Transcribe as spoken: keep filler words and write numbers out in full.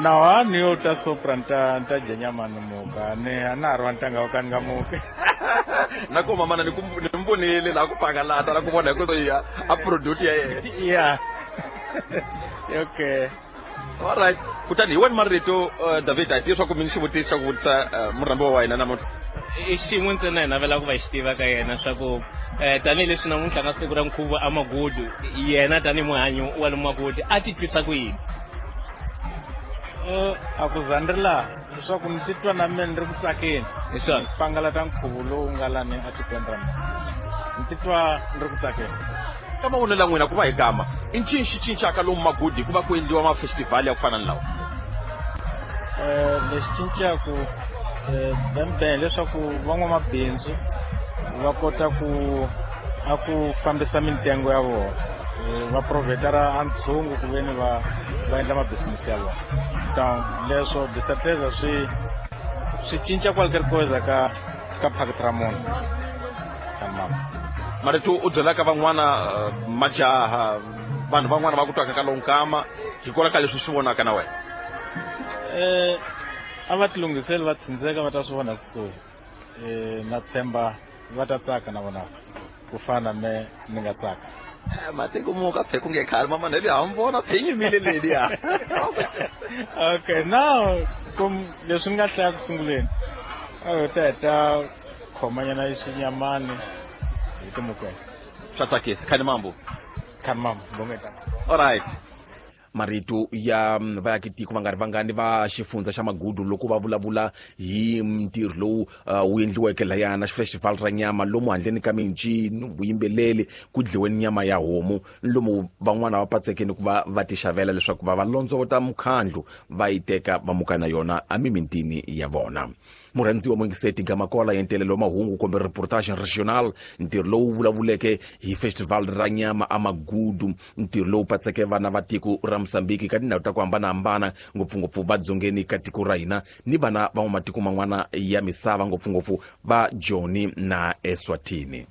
Na ni yo ta sopra nta nta dya nyama ni muka ni a na ha ri wa ntanga wa ka ni nga muki. Na ku mamana ni ku ni mi vonile laha ku pangalata la ku vona hi ku ya a product ya yena. Yeah. Okay. Alright, kutani hi wena marito uh, David a hi tivi swa ku mi ni xivutiso xa ku vutisa uh, murhambiwa wa hina namuntlha. I xin'we ntsena hi navela ku va xi tiva ka yena swa ku um tanihileswi namuntlha ka siku ra nkhuvo a Magudu, yena tanihi muhanyi wa le Magudu a titwisa ku yini? Uh, a ku za ni ri laha leswaku ni titwa na mina ni ri ku tsakeni. Hi swona. Pangalata nkhuvo lowu nga lani etikweni ra mina, ni titwa ni ri ku tsakeni. Ka mavonelo ya n'wina ku va hi gama i ncini xi cincaka lomu Magudu hikuva ku endliwa mafestivhali ya ku fana ni lawa? Um lexi cincaku um bembe hileswaku van'wamabindzu va kota ku a ku fambisa mintengo ya vona, va provhetara a ntshungu ku veni va va endla mabisinisi ya vona. Donc leswo disatreza swi swi cinca kwaliterikoza ka ka phakiti ra munhu ka mama. Marito u byelaka van'wana uh, majaha vanhu van'wana va ku twaka ka lonkama hikwalaho ka leswi swi vonaka na wena? Eh a va tilunghiseli va tsindzeka va ta swi vona kusuhi. Eh na tshemba va ta tsaka na vona ku fana me ni nga tsaka. Matiko muka phe ku nge khale mama neli ha mi vona phe yimile leliya. Okay, now kum leswi ni nga hlaya ku sunguleni a hi ta heta khomanyana xinyamani hi timukela. Swa tsakisa. Khani mambo. Khani mambo bongeta. All right. Marito ya vaakitiko va nga ri vangani va xifundza xa Magudu loko va vulavula hi ntirho lowu uh, wu endliweke lahaya na festival ra nyama lomu handleni ka mincino vuyimbeleri ku dliweni nyama ya homu lomu van'wana va patsekeni ku va va ti xavela leswaku va va londzovota mukhandlu va yi teka va muka na yona emimitini ya vona. Murhandziwa muyingiseti Gamakola ya ntelelo wa mahungu kumbe reportage regional, ntirho lowu vulavuleke hi festival ra nyama a Magudu, ntirho lowu patseke vana va tiko ra Mozambique ka tindhawu ta ku hambanahambana ngopfungopfu va dzongeni ka tiko ra hina ni vana va matiko man'wana ya misava ngopfungopfu va Joni na Eswatini.